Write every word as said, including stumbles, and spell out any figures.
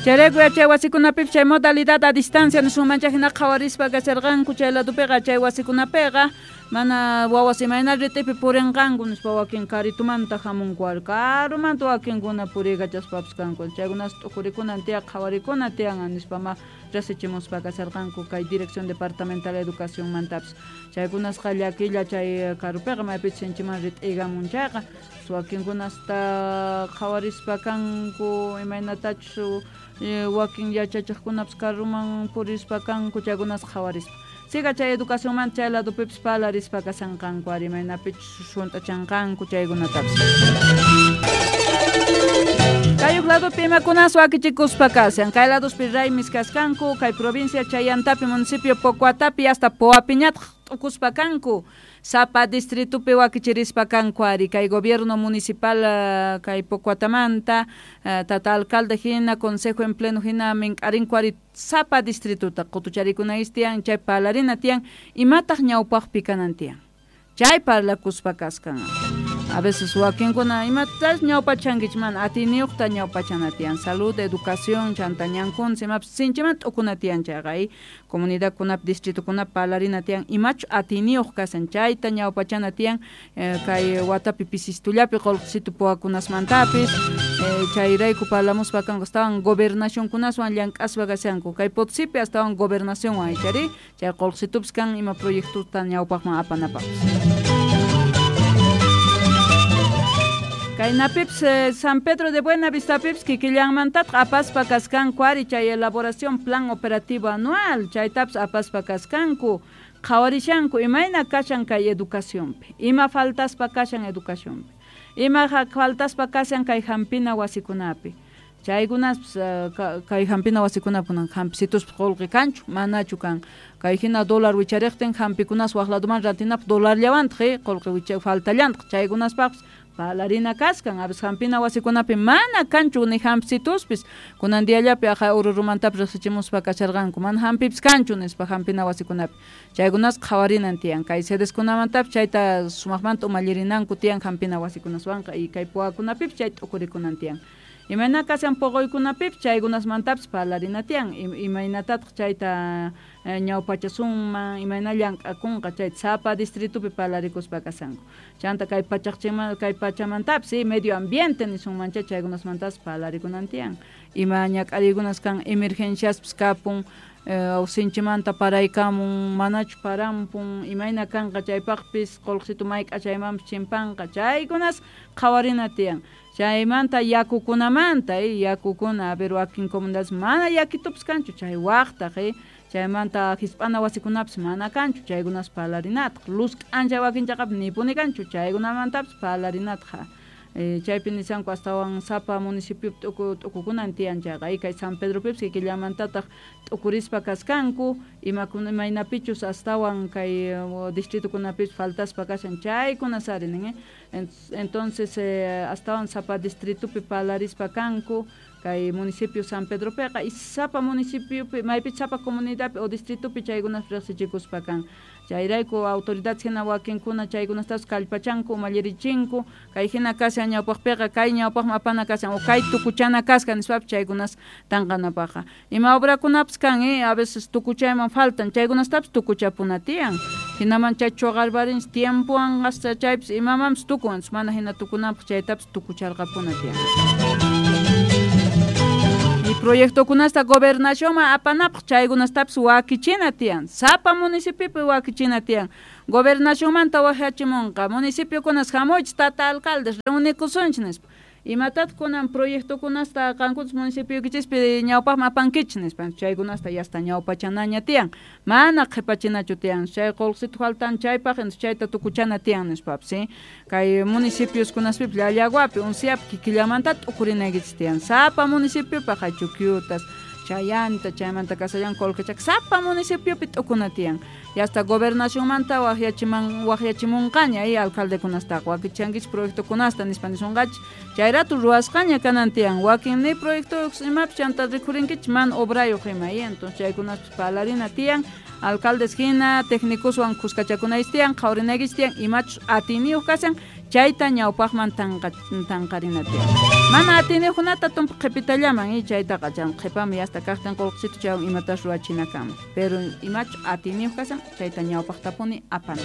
Chayrayku yachay wasikunapipas chay modalidad a distancia nisunmancha hina qhawarispa kasharqanku chay ladopiqa chay wasikunapiqa mana wawas imayna ritipi purinqanku nispa wakin karitumanta hamunku ari karumanta wakinkuna puriykachaspapas kanku chaykunas t'ukurikunan tiyan qhawarikuna tiyan nispa ma rasichimuspa kasharqanku kay Dirección Departamental de Educacionmantapis chaykunasqa llakilla chay karupiqa maypichus sinchiman rit'iykamun chayqa wakinkunasta qhawarispa kanku imaynatachus wakin yachachiqkunapas karuman purispa kanku chaykunas qhawarispa siga chay educacionmanta chay ladopipis parlarispa kashanqanku ari imaynapichus hunt'achanqanku chaykunatapis. Kay ladopi imakunas wakichikuspa kashan kay ladospi raymis kaskanku kay provincia Chayantapi municipio Pocoatapi hasta Poapiñataq t'ukuspa kanku sapa distritupi wakichirispa kanku ari kay gobierno municipal kay Pocoatamanta tata alcalde hina consejo en pleno hina mink'arinku ari sapa distrituta qutucharikunayis tiyan chay parlarina tiyan imataq ñawpaqpi kanan tiyan chay parlakuspa kaskan. A veces wakinkuna imatas ñawpachankichik mana atiyniyuqta ñawpachana tiyan salud, educación, chanta ñankuna imapis sinchimanta t'ukuna tiyan chayqa comunidadkunapi distritukunapi parlarina tiyan imachu atiyniyuq kashan chayta ñawpachana tiyan kay watapi pisistullapi qullqisitu puwakunasmantapis chayrayku parlamuspa kanku astawan gobernacionkunaswan llank'aspa kashanku kay Potosipi astawan gobernacionwan ichari chay qullqisitupis kan ima proyectuta ñawpaqman apanapaqpis. Kaynapipas San Pedro de Buenavistapipis kikillanmantataq apaspa kaskanku ari chay elaboración plan operativo anual chaytapas apaspa kaskanku qhawarishanku imayna kashan kay educacionpi ima faltaspa kashan educacionpi ima faltaspa kashan kay hampina wasikunapi chaykunaspas kay hampina wasikunapi kunan hampisituspa qullqi kanchu manachu kan kay hina dólar wichariqtin hampikunas waq ladoman rantinapaq dolarllawantaq qullqi faltallantaq chaykunaspaqpas parlarina kaskan a veces hampina wasikunapi mana kanchu ni hampsituspis kunan diallapi aja Orurumantapis riqsichimuspa kasharqanku mana hampipis kanchu nispa hampina wasikunapi chaykunas qhawarinan tiyan kay sedeskunamantapis chayta sumaqmanta umallirinanku tiyan hampina wasikunaswanqa y kay puwakunapipis chay t'ukurikunan tiyan imayna kashan puquykunapipis chaykunasmantapis parlarina tiyan imaynatataq chayta ñawpachasunman imayna llank'akunqa chayta sapa distritupi parlarikuspa kashanku chanta kay pachaqchima kay pachamantapis medio ambiente nisunmancha chaykunasmantapas parlarikunan tiyan ima ñak'ariykunas kan emergenciaspis kapun sinchimanta paraykamun manachu parampun imayna kanqa chaypaqpis qullqisitu mayk'a chaymanpis chimpanqa chaykunas qhawarina tiyan chaymanta yakukunamanta yakukuna a ver wakin comunidades mana yakitupis kanchu chay waqtaq chaymanta hisp'ana wasikunapis mana kanchu chaykunas parlarinataq luz k'anchay wakin chaqapi nipuni kanchu chaykunamantapis parlarinataq chaypi nishanku astawan sapa municipiopi t'uku t'ukukunan tiyan chayqa kay San Pedropipis kikillamantataq t'ukurispa kaskanku imakuna imaynapichus astawan kay distritukunapipis faltaspa kashan chaykunas ari nin entonces astawan sapa distritupi parlarispa kanku kay municipio San Pedropiqa y sapa municipiopi maypichus sapa comunidadpi o distritupi chaykunas riqsichikuspa kan chayrayku autoridades hina wakinkuna chaykunastapas kallpachanku umallirichinku kay hina kashan ñawpaqpiqa kay ñawpaqman apana kashan o kay tukuchana kasqa nispapis chaykunas tanqanapaqqa ima obrakunapis kan a veces tukuchayman faltan chaykunastapis tukuchapuna tiyan hinaman chay chuqarparinchik tiempowan hasta chaypis imamanpis tukun mana hina tukunanpaq chaytapis tukucharqapuna tiyan. Y proyectokunasta gobernacionman apanapaq chaykunastapis wakichina tiyan sapa municipiopi wakichina tiyan gobernacionmanta waqyachimunqa municipiokunas hamuychik tata alcaldes reunikusunchik nispa imatataq kunan proyectokunasta qankunas municipioykichispi ñawpaqman apankichik nispa chaykunasta yasta ñawpachanaña tiyan mana qhipachinachu tiyan chay qullqisitu faltan chaypaq chayta tukuchana tiyan nispapis kay municipioskunaspipis Llallaguapi Unciapi kikillamanta t'ukurinaykichik tiyan sapa municipiopaq Chuquiutas Chayanta chaymanta Casallan Colquechaca sapa municipiopi t'ukuna tiyan y hasta gobernacionmanta waqyachiman waqyachimunqaña y alcaldekunastaqa wakichankichik proyectokunasta nispa nisunqachik chayratu ruwasqaña kanan tiyan wakin ni proyectoyuq imapis chanta rikhurinkichik mana obrayuq ima y entonces chaykunaspis parlarina tiyan alcaldes hina técnicoswan kuskachakunaychik tiyan qhawarinaykichik tiyan imachus atiyniyuq kashan Chayta ñawpaqman tanqa tanqarina tiyan. Mana atiniyuqkunata tumpa qhipitallaman y chaytaqa chan qhipaman yasta kaqtin qullqisitu chaywan imatas ruwachina kanman. Pero imachu atiniyuq kashan chayta ñawpaqtapuni apana.